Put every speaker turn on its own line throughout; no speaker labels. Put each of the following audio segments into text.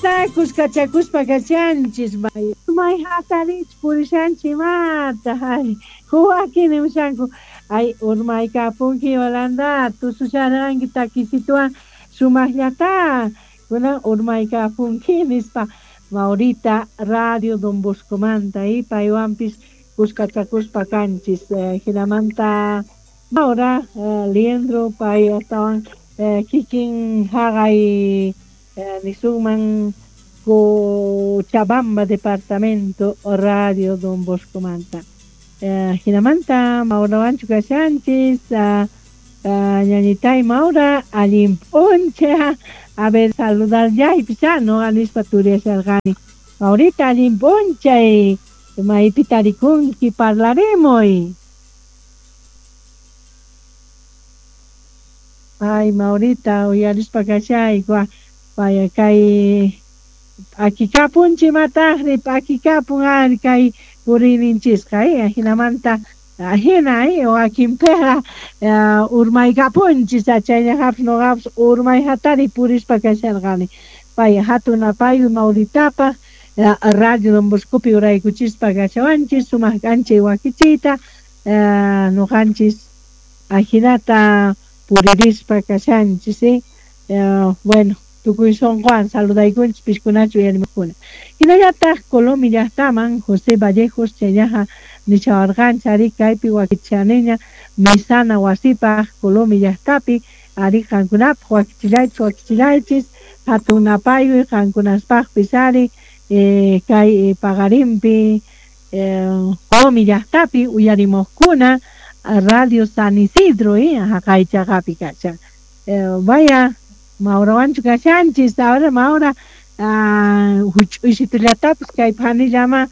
Kuskachakuspa kashanchis may hatarich purishanchis imata ay huwakin nimushanku ay urmaykapunki Yolanda tususharqanki takisituwan sumaqllata kunan urmaykapunki nispa Maurita Radio Don Boscomanta y paywanpis kuskachakuspa kanchis hinamanta Maura Liendro pay astawan kikin haqay nisunman Cochabamba departamento Radio Don Boscomanta hinamanta Maurawanchu kashanchis ñañitay Maura allin p'uncha a ver saludar yaypis no nispa turiasharqani Maurita allin p'unchay maypi tarikunki parlaremuy. Ay Maurita uyarispa kashayku vaya kay p'akikapunchik mataqri p'akikapun ari kay puriyninchisqa hinamanta hina wakinpiqa urmaykapunchis chayllaqapis nuqapis urmay hatari purispa kasharqani pay hatun apayuy Mauritapaq Radio Don Boscopi uraykuchispa kashawanchis sumaq k'anchay wakichiyta nuqanchis ajinata puririspa kashanchis bueno tukuy sunquwan saludaykunchis pishkunachu uyarimuqkuna hinallataq Colomi llaqtaman José Vallejos chayllaqa nishawarqanchis ari kaypi wakichaniña misana wasipaq Colomi llaqtapi ari qankunapaq wakichillaychis wakichillaychis hatun napayuy qankunaspaqpis ari kay paqarinpi Colomi llaqtapi uyarimuqkuna Radio San Isidro haqay chaqapi kashan vaya Maurawanchu kashanchis ahora Maura huch'uysitullatapis kay phanillama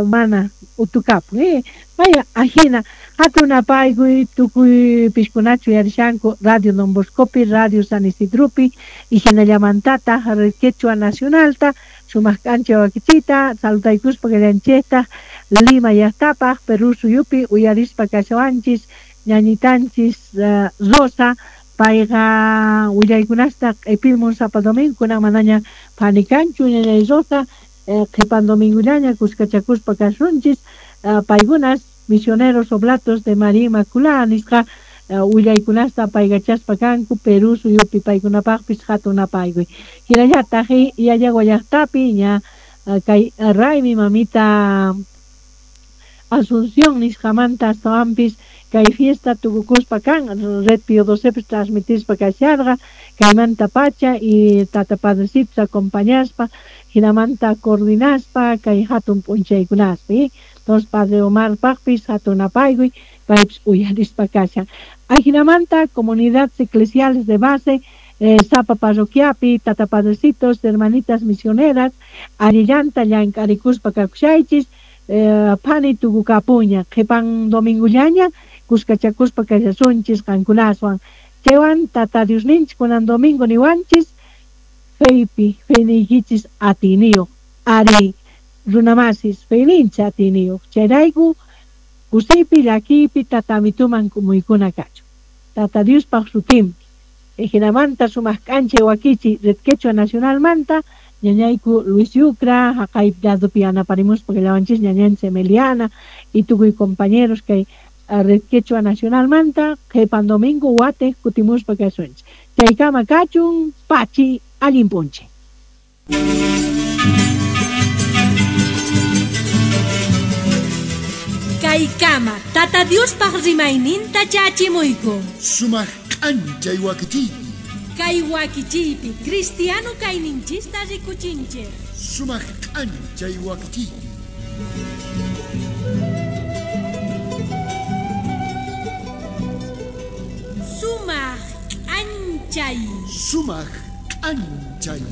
mana utukapun vaya ajina hatun apaykuy tukuy pishkunachu uyarishanku Radio Don Boscopi Radio San Isidropi y hinallamantataq Red Quechua Nacionalta sumaq k'anchay wakichiyta saludaykuspa kallanchiktaq Lima llaqtapaq Perú suyupi uyarispa kashawanchis ñañitanchis Rosa payqa willaykunasta q'ipimun sapa domingo kunan manaña phanikanchu ñañay Rosa qhipan domingullaña kuskachakuspa kasunchis paykunas misioneros oblatos de María Inmaculada nisqa willaykunasta paykachaspa kanku Perú suyupi paykunapaqpis hatun apaykuy hinallataq Yayagua llaqtapi ña kay raymi mamita Asunción nisqamanta astawanpis kay fiesta tukukuspa kan Red Pío XII transmitispa kasharqa kaymanta pacha y tata padrecitos acompañaspa hinamanta coordinaspa kay hatun p'unchaykunaspi entonces padre Omarpaqpis hatun apaykuy paypis uyarispa kashan ajinamanta comunidades eclesiales de base sapa parroquiapi tata padrecitos hermanitas misioneras allillanta llank'arikuspa kakushaychis phani tukukapuña qhipan domingullaña kuskachakuspa kashasunchis qankunaswan chaywan tata Diosninchis kunan domingo niwanchis feypi feyniykichis atiyniyuq ari runamasis feyninchis atiyniyuq chayrayku kusiypi llakiypi tata amituman k'umuykuna kachun tata Diospaq sutinpi hinamanta sumaq k'anchay wakichi Red Quechua Nacionalmanta ñañayku Luis Yucra haqay ladopi yanaparimuspa kallawanchis ñañanchis Emiliana y tukuy compañeros kay Red Quechua Nacionalmanta qhipan domingo watiq kutimuspa kasunchis chaykama kachun pachi allin p'unchay.
Kaykama Tata Diospaq rimayninta chachimuyku
sumaq k'anchay wakichiypi
kay wakichiypi cristiano kayninchista rikuchinchik
sumaq k'anchay wakichiypi
sumaq k'anchay
sumaq k'anchay.